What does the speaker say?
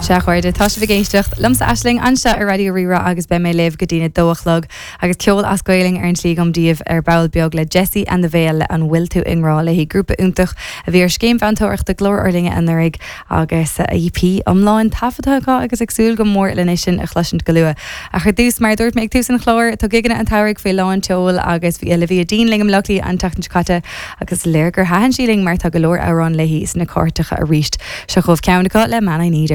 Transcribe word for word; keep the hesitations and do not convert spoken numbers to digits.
Sea a chairde tá sibh ag éisteacht liomsa Aisling anseo ar Raidió Rí-Rá agus beidh mé libh go dtí a dó a chlog agus ceol as Gaeilge ar an tslí agam daoibh ar ball beag le Jessie and the Veil le an bhfuil tú i ngrá léi grúpa iontach a bhí ar scéim mheantóireachta Glór ár Linne anuraidh agus EP iomlán taifeadta acu agus ag súil go mór lena sin a chloisint go luath. Ach ar dtús mar dúirt mé ag tús an chláir tá gigeanna an tsamhraidh faoi lán tseoil agus bhí Olivia Dean linn i mBaile Átha Cliath an tseachtain seo caite agus léir gur thaitin sí linn mar tá go leor amhrán léi sna cairteacha arís. Seo chugaibh ceann acu le Man I Need.